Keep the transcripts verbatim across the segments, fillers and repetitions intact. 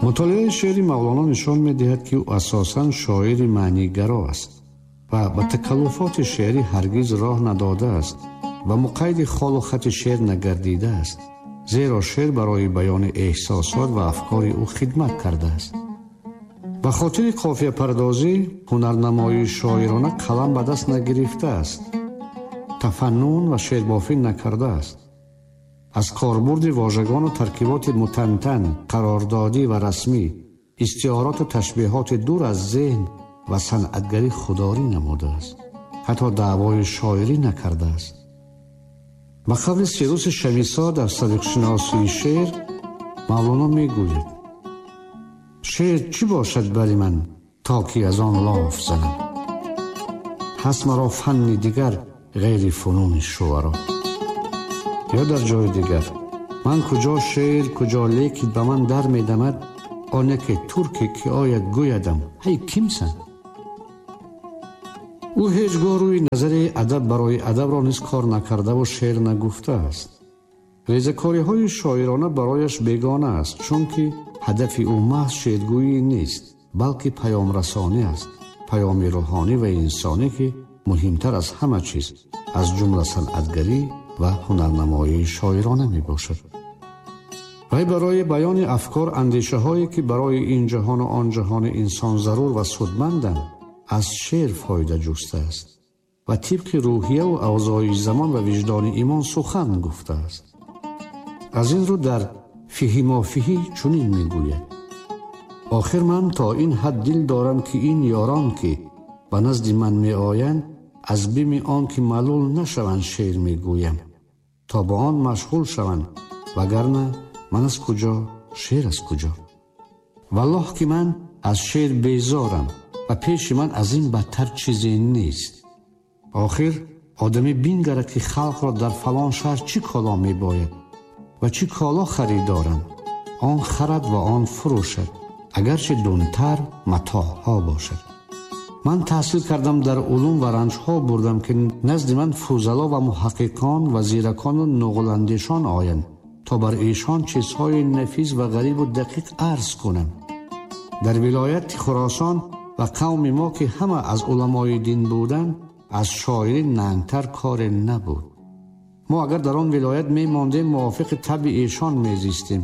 Мутолиаи шеъри Мавлоно нишон медиҳад, ки ӯ асосан шоири маънигаро аст ва ба такаллуфоти шеърӣ ҳаргиз роҳ надодааст ва муқайди холу хати шеър нагардидааст, зеро шеър барои баёни эҳсосот ва афкори ӯ хидмат кардааст. Ба хотири қофияпардозӣ ҳунарнамоии шоирона қалам ба даст нагирифтааст, тафаннун ва шеърбофӣ накардааст. Аз корбурди вожагону таркиботи мутантан, қарордодӣ ва расмӣ, истиороту ташбеҳоти дур аз зеҳн ва санъатгарӣ худдорӣ намудааст. Ҳатто даъвои шоирӣ накардааст. Ба қавли Сируси Шамисо дар садиқшиносии шеър Мавлоно мегӯяд: шеър чӣ бошад бари ман, то ки аз он лоф занам? Ҳаст маро фанни дигар ғайри фунуни шуаро. Ё дар ҷои дигар: ман куҷо шеър, куҷо лекин ба ман дар медамад он яке турке ки ояд гӯядам ҳай кимсан? Ӯ ҳеҷ гоҳ рӯи назари адаб барои адабро низ кор накардаву шеър нагуфтааст. Резакориҳои шоирона барояш бегона аст, чунки ҳадафи ӯ маҳз шеъргӯӣ нест, балки паёмрасонӣ аст, паёми рӯҳонӣ ва инсонӣ, ки муҳимтар аз ҳама чиз, аз ҷумла санъатгарӣ ва ҳунарнамоии шоирона мебошад. Вай барои баёни афкор, андешаҳое ки барои ин ҷаҳону он ҷаҳони инсон зарур ва судманданд, аз шеър фоида ҷустааст ва тибқи рӯҳияву авзои замон ва виҷдони имон сухан гуфтааст. Аз ин рӯ дар фиҳи мофиҳӣ чунин мегӯяд: охир ман то ин ҳад дил дорам, ки ин ёрон, ки ба назди ман меоянд, аз бими он ки малул нашаванд шеър мегӯям, то ба он машғул шаванд, вагарна ман аз куҷо, шеър аз куҷо? Валлоҳ ки ман аз шеър безорам ва пеши ман аз ин бадтар чизе нест. Охир одамӣ бингарад, ки халқро дар фалон шаҳр чӣ коло мебояд ва чӣ коло харидоранд, он харад ва он фурӯшад, агарчи дунтар матоъҳо бошад. Ман таҳсил кардам, дар улум ва ранҷҳо бурдам, ки назди ман фузало ва муҳаққиқон ва зиракону нуғландешон оянд, то бар эшон чизҳои нафис ва ғарибу дақиқ арз кунам. Дар вилояти Хуросон ва қавми мо, ки ҳама аз уламои дин буданд, аз шоири нангтар коре набуд. Мо агар дар он вилоят мемондем, мувофиқи табъи эшон мезистем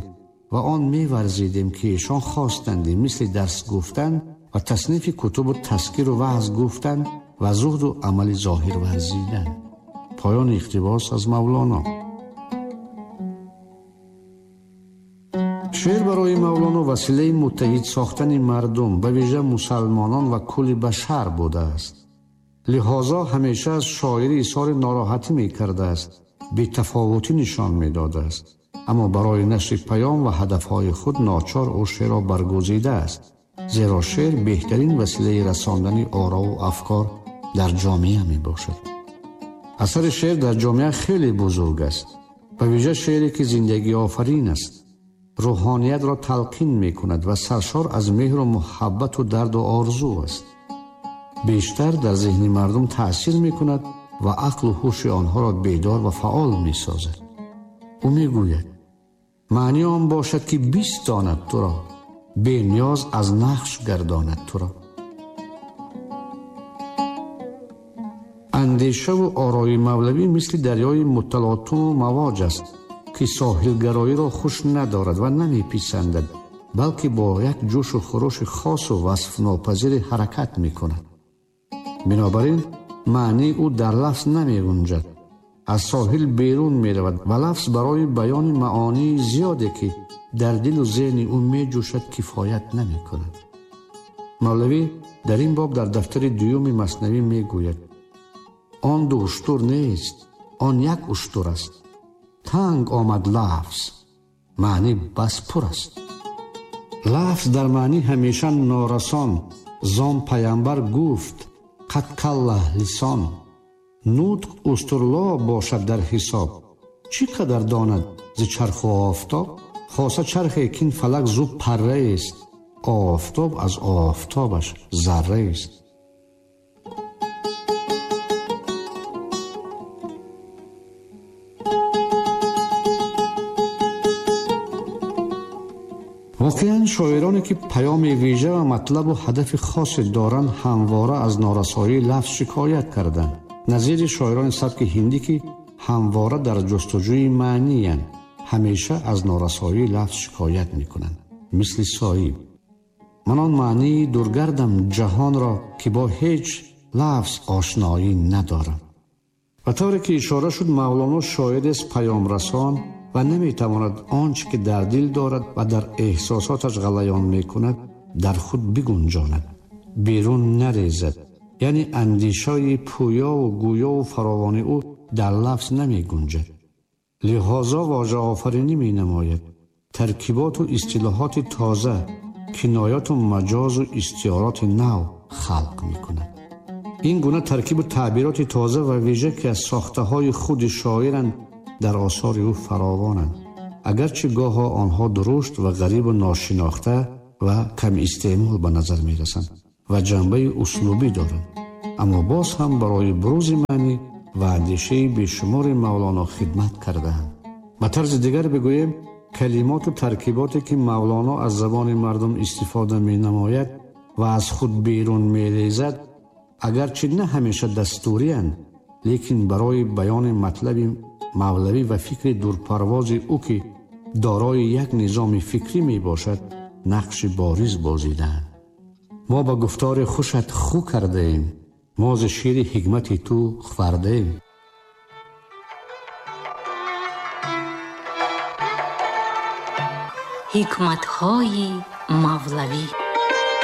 ва он меварзидем, ки эшон хостандем, мисли дарс гуфтан ва таснифи кутубу тазкиру ваъз гуфтан ва зуҳду амали зоҳир варзидан. Поёни иқтибос аз Мавлоно. Шеър барои Мавлоно василаи муттаҳид сохтани мардум, ба вижа мусалмонон ва кулли башар будааст. Лиҳозо ҳамеша аз шоири изҳори нороҳатӣ мекардааст, бетафовутӣ нишон медодааст, аммо барои нашри паём ва ҳадафҳои худ ночор ӯ шеърро баргузидааст, зеро шеър беҳтарин василаи расондани орову афкор дар ҷомеа мебошад. Асари шеър дар ҷомеа хеле бузург аст, ба вижа шеъре ки зиндагиофарин аст, рӯҳониятро талқин мекунад ва саршор аз меҳру муҳаббату дарду орзу аст. Бештар дар зеҳни мардум таъсир мекунад ва ақлу ҳуши онҳоро бедор ва фаъол месозад. Ӯ мегӯяд: маъни он бошад, ки бистонад туро, бениёз аз нақш гардонад туро. Андешаву орои мавлавӣ мисли дарёи муталотуму мавоҷ аст, ки соҳилгароиро хуш надорад ва намеписандад, балки бо як ҷӯшу хурӯши хосу васфнопазире ҳаракат мекунад. Бинобар ин маънии ӯ дар лафз намегунҷад, аз соҳил берун меравад ва лафз барои баёни маонии зиёде, ки дар дилу зеҳни ӯ меҷӯшад, кифоят намекунад. Мавлавӣ дар ин боб дар дафтари дуюми маснавӣ мегӯяд: он ду уштур нест, он як уштур аст. Танг омад лафз, маънӣ бас пур аст. Лафз дар маънӣ ҳамеша норасон, зон паямбар гуфт қад калла лисон. Нутқ устурло бошад дар ҳисоб, чӣ қадар донад зи чарху офтоб? Хоса чархе кин фалак зу парраест, офтоб аз офтобаш зарраест. Воқеан Шоироне ки паёми вижа ва матлабу ҳадафи хосе доранд, ҳамвора аз норасоии лафз шикоят карданд. Назири шоирони сабки ҳиндӣ, ки ҳамвора дар ҷустуҷӯи маъниянд, ҳамеша аз норасоии лафз шикоят мекунанд. Мисли Соиб: ман он маънии дургардам ҷаҳонро, ки бо ҳеҷ лафз ошноӣ надорам. Ба тавре ки ишора шуд, Мавлоно шоирест паёмрасон ва наметавонад он чӣ ки дар дил дорад ва дар эҳсосоташ ғалаён мекунад, дар худ бигунҷонад, берун нарезад. Яъне андешаи пӯёву гӯёву фаровони ӯ дар лафз намегунҷад. Лиҳозо вожаофаринӣ менамояд, таркиботу истилоҳоти тоза, кинояту маҷозу истиёроти нав халқ мекунад. Ин гуна таркибу таъбироти тоза ва вижа, ки аз сохтаҳои худи шоиранд, дар осори ӯ фаровонанд, агарчи гоҳо онҳо дурушт ва ғарибу ношинохта ва камистеъмол ба назар мерасанд ва ҷанбаи услубӣ доранд, аммо боз ҳам барои бурӯзи маънӣ ва андешаи бешумори Мавлоно хидмат кардаанд. Ба тарзи дигар бигӯем, калимоту таркиботе ки Мавлоно аз забони мардум истифода менамояд ва аз худ берун мерезад, агарчи на ҳамеша дастуриянд, лекин барои баёни матлаби мавлавӣ ва фикри дурпарвози ӯ, ки дорои як низоми фикрӣ мебошад, нақши бориз бозидаанд. Мо ба гуфтори хушат ху кардаем, мо зи шири ҳикмати ту хӯрдаем. Ҳикматҳои мавлавӣ.